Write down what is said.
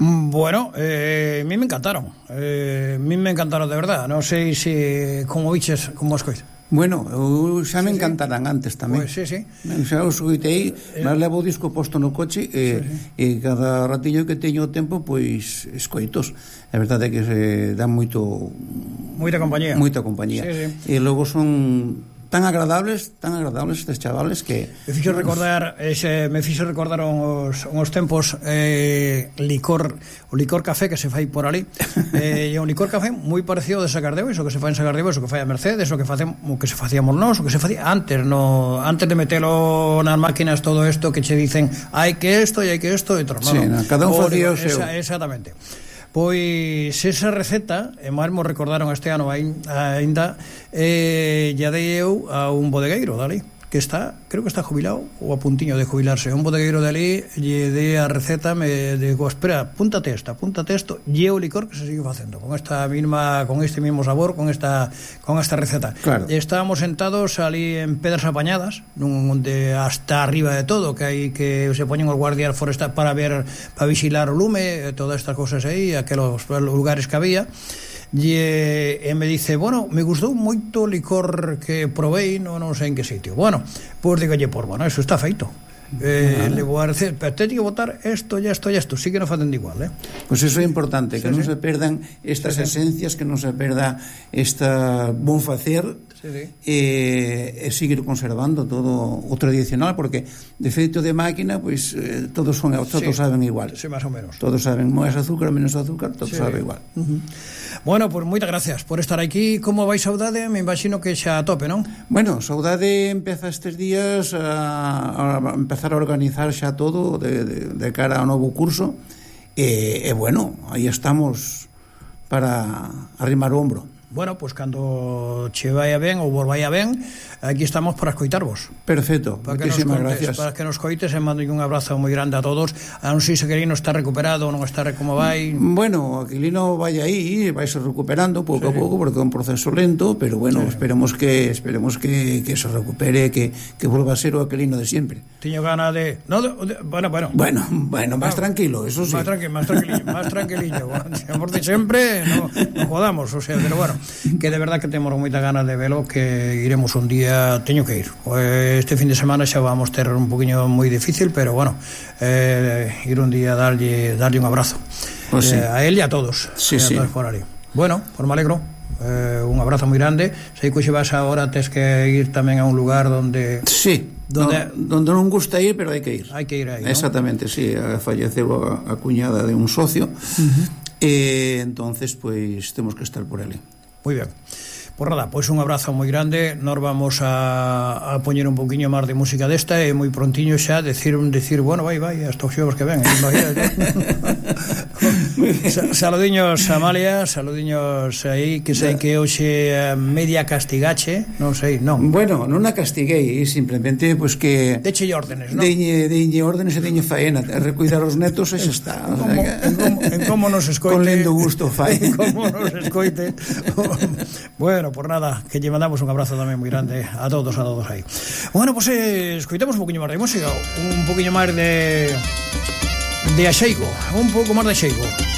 Bueno, a mí me encantaron. A mí me encantaron de verdad. Non sei se como viches, como as coisas. Bueno, xa me encantarán antes tamén. Pois, sí. Xa os escoitei, mas levo o disco posto no coche e cada ratillo que teño tempo, pois escoitos. A verdade é que se dá moita compañía. Sí. E logo son tan agradables estes chavales que me fixo recordar uns tempos o licor café que se fai por ali. E un licor café moi parecido de Sagardeu, iso que se fai en Sagardeu, iso que fai a Mercedes, o que se facíamos nós, o que se facía antes de metelo nas máquinas, todo isto que che dicen hai que isto e hai que isto e todo. Sí, cada un facía o seu. Exactamente. Pois esa receta, e mesmo recordaron este ano ainda, ya dei eu a un bodegueiro dali, que creo que está jubilado ou a puntiño de jubilarse, un bodegueiro de ali, lle dei a receta, me digo, espera, apúntate isto, lle o licor que se sigue facendo con este mismo sabor, con esta receta. Claro. Estábamos sentados ali en Pedras Apañadas, onde hasta arriba de todo, que hai que se poñen os guardias forestais para vixilar o lume, todas estas cosas aí, aqueles lugares que había. E me dice, bueno, me gustou moito o licor que provei, non sei en que sitio. Bueno, pois digolle, bueno, eso está feito. Le vou a decir, pero teño que botar isto e isto, sí que non facen de igual, Pois iso é importante, que non se perdan estas esencias, que non se perda esta bon facer, e seguir conservando todo o tradicional, porque de feito de máquina, pois todos saben igual. Sí, máis ou menos. Todos saben máis azúcar, menos azúcar, todo sabe igual. Bueno, pois moitas gracias por estar aquí. Como vai Saudade? Me imagino que xa a tope, non? Bueno, Saudade empeza estes días a empezar a organizar xa todo de cara ao novo curso e bueno, aí estamos para arrimar o ombro. Bueno, pois cando che vai ben ou vos vai ben, aquí estamos para escoitarvos. Perfecto, moitísimas gracias. Para que nos coites, e mando un abrazo moi grande a todos. A non sei se Aquilino está recuperado ou non está, como vai. Bueno, Aquilino vai aí, vai se recuperando pouco a pouco, porque é un proceso lento, pero bueno, esperemos que se recupere, que volva a ser o Aquilino de sempre. Tiño gana de... Bueno, máis tranquilo, eso sí. Máis tranquilillo. Por de sempre, non jodamos, o sea, pero bueno, que de verdad que temos moita ganas de velo, que iremos un día, teño que ir. Este fin de semana xa vamos ter un poquinho moi difícil, pero bueno, ir un día darlle un abrazo, pues sí, a él e a todos. Sí. Todos por ali. Bueno, pues me alegro. Un abrazo moi grande. Sei que xe vas agora, tes que ir tamén a un lugar donde... Sí, donde non gusta ir, pero hai que ir. Hai que ir aí, ¿no? Exactamente, sí, falleceu a cuñada de un socio, e entonces pois temos que estar por ali. Moi ben. Pois nada, pois un abrazo moi grande. Nos vamos a poñer un poquinho máis de música desta e moi prontiño xa decir bueno, vai, hasta os xovos que ven. Saludiños Amalia, saludiños aí, que sei que hoxe media castigache, non sei, non. Bueno, non a castiguei, simplemente pois que deche órdenes, non? Deñe órdenes e deñe faena, recuidar os netos e xa está. En como nos escoite. Con lendo gusto fai. Como nos escoite. Bueno, por nada, que lle mandamos un abrazo tamén moi grande a todos aí. Bueno, pois escoitamos un poquinho máis de música, un poquinho máis de axeigo, un pouco máis de axeigo.